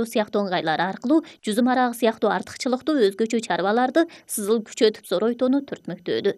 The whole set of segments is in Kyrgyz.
сыяктуу ыңгайлар аркылуу жүзүм арагы сыяктуу артыкчылыктуу өзгөчө чарбаларды сызыл күчөтүп зоройтууну түртмөктөөдү.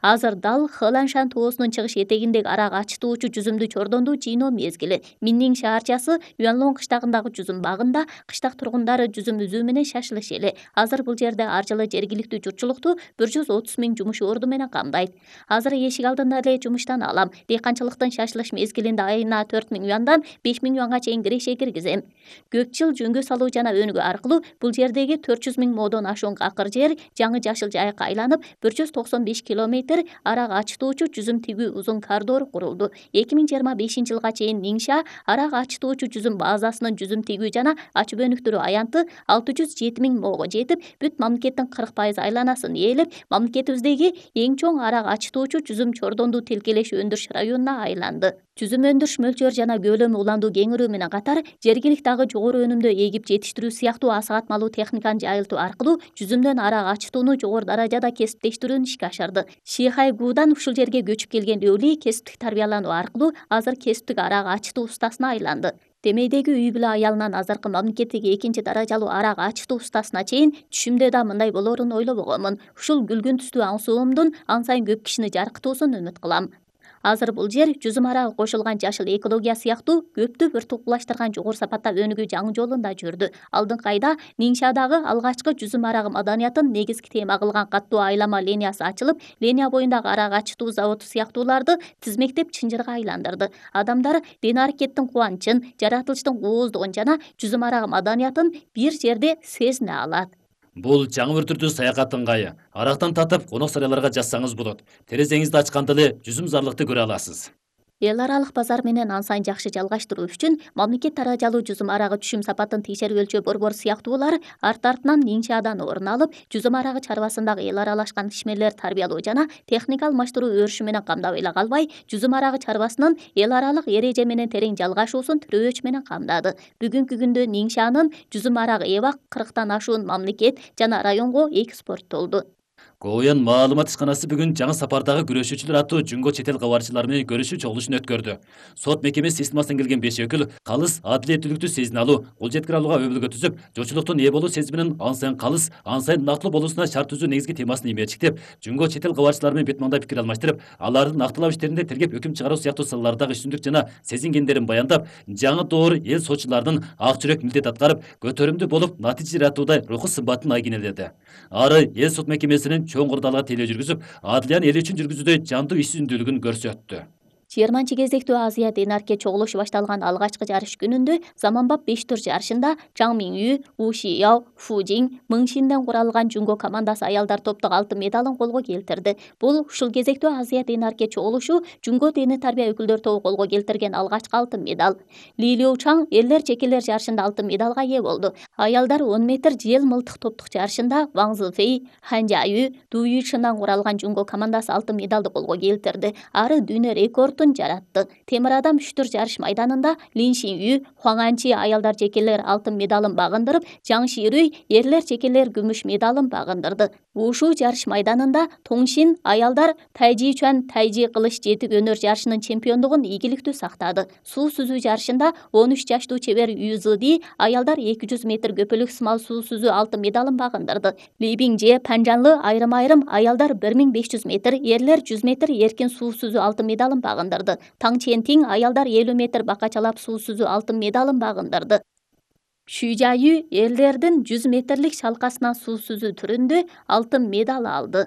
Азыр дал Хэланшан тоосунун чыгыш этегиндеги арак ачытуучу жүзүмдү чордондуу жыйноо мезгили. Миннин шаарчасы Юанлон кыштагындагы жүзүм багында кыштак тургундары жүзүм үзүү менен шашылыш эле. Азыр бул жерде ар жылы жергиликтүү журтчулукту 130 000 жумуш орду менен камдайт. Азыр эшик алдында эле жумуштан алам. Дыйканчылыктын шашылыш мезгилинде айына 4 000 юандан 5 000 юанга чейин киреше киргизем. Көп жыл жөнгө салуу жана өнүгүү аркылуу бул жердеги 400 000 модон ашуун акыр жер жаңы жашыл жайыкка айланып 195 километр арак ачытуучу жүзүм тигүү узун коридор курулду. 2025 жылга чейин Ниңша арак ачытуучу жүзүм базасынын жүзүм тигүү жана ачып өнүктүрүү аянты 607 000 мого жетип, бүт мамлекеттин 40% айланасын ээлеп, мамлекетибиздеги эң чоң арак ачытуучу жүзүм чордондуу тилкелеш өндүрүш районуна айланды. Жүзүм өндүрүш мөлчөрү жана көлөмү уландуу кеңирүү менен катар жергиликти дагы жогору өнүмдүү эгип жетиштирүү сыяктуу асыгатмалуу техниканы жайылтуу аркылуу жүзүмдөн арак ачытууну жогору даражада кесиптештирүүнү ишке ашырды. Шихайгуудан ушул жерге көчүп келген Өлий кесиптик тарбиялануу аркылуу азыр кесиптик арак ачытуу устасына айланды. Темейдеги үй бүлө аялынан азыркы мамлекеттеги 2 даражалуу арак ачытуу устасына чейин түшүмдө да мындай болоорун ойлобогонмун. Ушул күлгүн түстүү аң соомдун ан сайын көп кишини жаркытуусун үмүт кылам. Азыр бул жер жүзүм арагы кошулган жашыл экология сыяктуу көптү бир тукташтырган жогору сапатта өнүгүү жаңы жолунда жүрдү. Алдыңкы айда Ниңшадагы алгачкы жүзүм арагы маданиятын негизги тема кылган каттуу айлама линиясы ачылып, линия боюндагы арак ачытуу заводу сыяктууларды тизмектеп чынжырга айландырды. Адамдар ден аракеттин кубанычын, жаратылыштын кооздугун жана жүзүм арагы маданиятын бир жерде сезине алат. Бул жаңы бір түрдүү саякат ыңгайы. Арактан татып, конок сарайларга жазсаңыз болот. Терезеңизди ачканда эле жүзүм зарлыкты көрө аласыз. Эл аралык базар менен ан сайын жакшы жалгаштыруу үчүн мамлекет даражалуу жүзүм арагы түшүм сапатын текшерип өлчөө борбор сыяктуулар арт-артынан Ниңшадан орун алып, жүзүм арагы чарбасындагы эл аралашкан ишмерлер тарбиялоо жана техника алмаштыруу өрүшү менен камдап эле калбай, жүзүм арагы чарбасынын эл аралык эреже менен терең жалгашуусун тирөөч менен камдады. Бүгүнкү күндө Ниңшанын жүзүм арагы эбак 40тан ашуун мамлекет жана районго экспорттолду. Коуян маалымат ишканасы бүгүн жаңы сапардагы күрөшүүчүлөр аттуу жүнгө чет эл кабарчылары менен көрүшүү чогулушун өткөрдү. Сот мекемеси системасынан келген 5 өкүл калыс адилеттүүлүктү сезине алуу, кол жеткире алууга өбөлгө түзүп, жочулуктун ээ болуу сезиминин ан сайын калыс, ан сайын нактылуу болуусуна шарт түзүү негизги темасын имечиктеп, жүнгө чет эл кабарчылары менен бетманда пикир алмаштырып, алардын нактылап иштеринде тергеп өкүм чыгаруу сыяктуу салалардагы үстүндүк жана сезингендерин баяндап, жаңы доор эл сотчулардын ак жүрөк милдет аткарып, көтөрүмдүү болуп, натыйжа жаратууда руху сымбатын айгинеледи. Ары эл сот мекемесинин чоң курдалга тейлөө жүргүзүп, адилиянын эл үчүн жүргүзүүдө жандуу ишсүздүүлүгүн көрсөттү. 20 кезектүү Азия Денарке чогулушу башталган алгачкы жарыш күнүндө заманбап 5 тур жарышында Чаң Миню, У Шияо, Фу Жиң, Мың Шинден куралган жүнгө командасы аялдар топтук алтын медалын колго келтирди. Бул ушул кезектүү Азия Денарке чогулушу жүнгө дене тарбия өкүлдөр тобу колго келтирген алгачкы алтын медаль. Ли Лиу Чаң эрлер жекелер жарышында алтын медалга ээ болду. Аялдар 10 метр жел мылтык топтук жарышында Ваң Зифей, Хан Жаю, Ду Юйшиндан куралган жүнгө командасы алтын медалды колго келтирди. Ары дүйнө рекорд жаратты. Темир адам 3 тур жарыш майданында Лин Шиню, Хуаң Анчи аялдар жекелер алтын медалын багындырып, Жаң Ширүй эрлер жекелер күмүш медалын багындырды. Ушу жарыш майданында Тоңшин аялдар Тайжи Чуан Тайжи кылыч жетик өнөр жарышынын чемпиондугун ийгиликтүү сактады. Суу сүзүү жарышында 13 жаштуу чебер Ю Зыди аялдар 200 метр көпөлүк сымал суу сүзүү алтын медалын багындырды. Ли Биңже Панжанлы айрым-айрым аялдар 1500 метр, эрлер 100 метр эркин суу сүзүү алтын медалын багындырды. Таң Чентиң аялдар 50 метр бакачалап суу сүзүү алтын медалын багындырды. Шу Жаю эрлердин 100 метрлик шалкасынан суу сүзүү түрүндө алтын медаль алды.